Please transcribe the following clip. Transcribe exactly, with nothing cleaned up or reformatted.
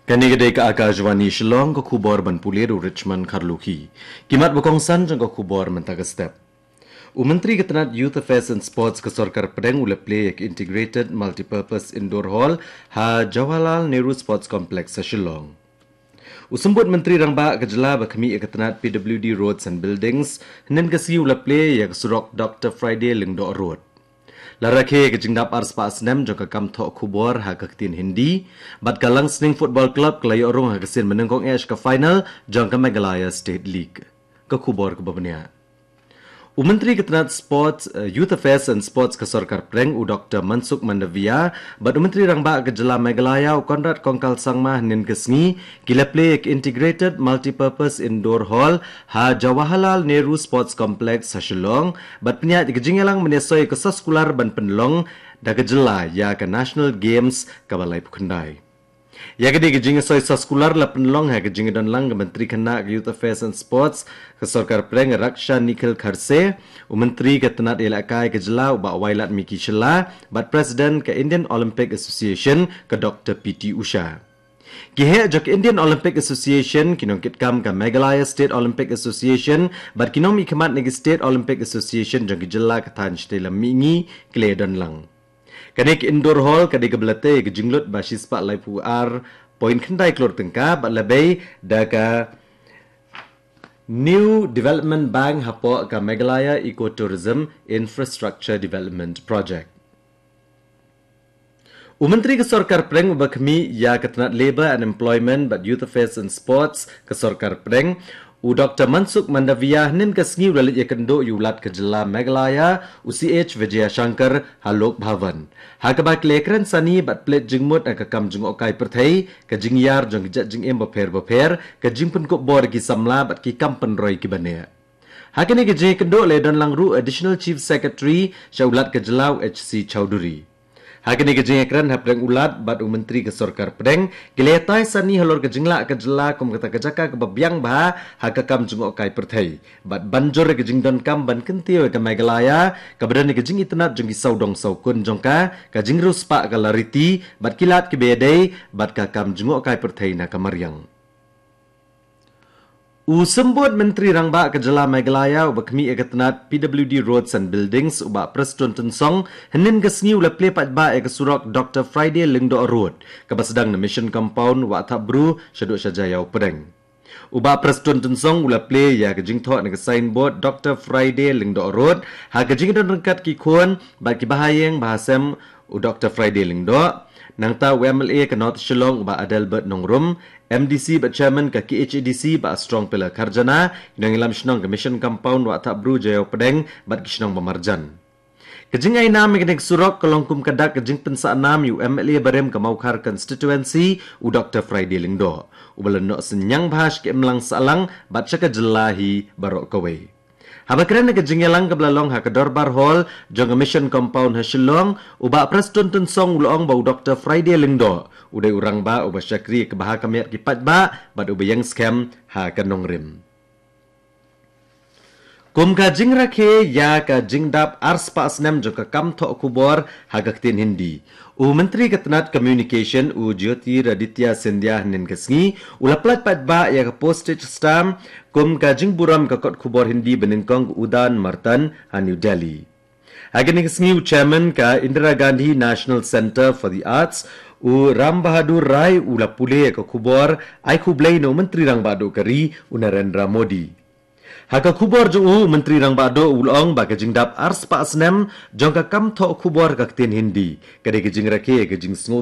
Kane ka dei ka Akashvani Shillong, ka khubor ban pule da u Richmond Kharlukhi. Ki mat ba kongsan jong ka khubor mynta ka step. U Myntri ka tnat Youth Affairs and Sports ka Sorkar Pdeng u la plie ïa ka Integrated Multipurpose Indoor Hall ha Jawaharlal Nehru Sports Complex ha Shillong. U Symbud Myntri Rangbah ka jylla ba khmih ïa ka tnat P W D Roads and Buildings, hynnin ka sngi u la plie ïa ka surok Doctor Friday Lyngdoh Road. La rakhe ka jingdap arspah snem jong ka kam thoh khubor ha ka ktien Hindi, bad ka Langsning Football Club ka la ïoh rung ha ka sien mynnyngkong eh sha ka final jong ka Meghalaya State League. Ka khubor kaba bniah. U Myntri ka tnat Sports, eh, Youth Affairs and Sports ka Sorkar Pdeng u Doctor Mansukh Mandaviya, bad u Myntri Rangbah ka jylla Meghalaya u Conrad Kongkal Sangma hynnin ka sngi, ki la plie ïa ka Integrated Multipurpose Indoor Hall ha Jawaharlal Nehru Sports Complex ha Shillong, bad pynïaid ïa ka jingïalang mynne soi ka soskular ban pynlong da ka jylla ïa ka National Games kaba laiphew khyndai. Ïa ka dei ka jingsoi soskular la pynlong ha ka jingdon lang ka Myntri khynnah ka Youth Affairs and Sports ka Sorkar Pdeng Raksha Nikhil Kharse, u Myntri ka tnat ïalehkai ka jylla u Bah Wailadmiki Shylla, bad President ka Indian Olympic Association ka Doctor P T Usha. Ki heh jong ka Indian Olympic Association, ki nongkitkam ka Meghalaya State Olympic Association, bad ki nongmihkhmat na ki State Olympic Association jong ki jylla ka thaiñ shatei lam mihngi ki la ïadon lang. Kane ka Indoor Hall ka dei kaba la tei ïa ka jinglut ba shispah laiphew ar point khyndai klur tyngka, bad la bei da ka New Development Bank hapoh ka Meghalaya Ecotourism Infrastructure Development Project. U Myntri ka Sorkar Pdeng uba khmih ïa ka tnat Labour and Employment bad Youth Affairs and Sports ka Sorkar Pdeng, u Doctor Mansukh Mandaviya hynnin ka sngi u la leit ïakynduh ïa u Lat ka jylla Meghalaya, u C H Vijayashankar ha Lok Bhavan. Ha kaba ki la ïakren sani bad plie jingmut ha ka kam jngohkai pyrthei, ka jingïar jong ki jait jingim bapher bapher, ka jingpynkup bor ki samla bad ki kam pynroi kiba neh. Ha kane ka jingïakynduh la ïadon lang ruh Additional Chief Secretary sha u Lat ka jylla u H C Chowdhury. Ha kane ka jingïakren hapdeng u Lat bad u Myntri ka Sorkar Pdeng, ki la ïatai sani halor ka jinglah ka jylla kum kata ka jaka kaba biang bha ha ka kam jngohkai pyrthei. Bad ban jur ïa ka jingdonkam ban kyntiew ïa ka Meghalaya, kaba don ïa ka jingitynnad jong ki sawdong sawkun jong ka, ka jingriewspah ka la riti, bad ki lad kiba ïadei bad ka kam jngohkai pyrthei na ka mariang. U Symbud Myntri Rangbah ka jylla Meghalaya uba khmih ïa ka tnat P W D Roads and Buildings u Bah Prestone Tynsong, hynnin ka sngi u la plie paidbah ïa ka surok Doctor Friday Lyngdoh Road, kaba sdang na Mission Compound, Wahthapbru, shaduh sha Jaïaw Pdeng. U Bah Prestone Tynsong u la plie ïa ka jingthoh na ka signboard Doctor Friday Lyngdoh Road ha ka jingdon ryngkat ki khun bad ki bahaïing bahasem u Doctor Friday Lyngdoh. Nangta u M L A ka North Shillong u Bah Adelbert Nongrum, M D C bad Chairman ka K H A D C Bah Strong Pillar Kharjana, ki nongïalam shnong ka Mission Compound Wahthapbru, Jaïaw Pdeng bad ki shnong ba marjan. Ka jingainam ïa kane ka surok ka long kum ka dak ka jingpynsahnam ïa u M L A barim ka Mawkhar Constituency u Doctor Friday Lyngdoh, uba la noh synñiang bha sha ka imlang sahlang bad sha ka jylla hi baroh kawei. Haba kren ha ka jingïalang kaba la long ha ka Dorbar Hall jong ka Mission Compound ha Shillong, u Bah Prestone Tynsong u la ong ba u Doctor Friday Lyngdoh u dei u rangbah uba shakri ïa ka bha ka miat ki paidbah bad uba ïeng skhem ha ka nongrim. Kum ka jingrakhe ïa ka jingdap arspah snem jong ka kam thoh khubor ha ka ktien Hindi, u Myntri ka tnat Communication u Jyotiraditya Scindia hynnin ka sngi u la pyllait paidbah ïa ka postage stamp kum ka jingburom ka kot khubor Hindi banyngkong ka Udan Martan ha New Delhi. Ha kane ka sngi u Chairman ka Indira Gandhi National Centre for the Arts u Ram Bahadur Rai u la pule ïa ka khubor ai khublei na u Myntri Rangbah Duh ka ri u Narendra Modi. Ha ka khubor jong u, u Myntri Rangbah Duh u la ong ba ka jingdap arspah snem jong ka kam thoh khubor ka ktien Hindi ka dei ka jingrakhe ïa ka jingsngew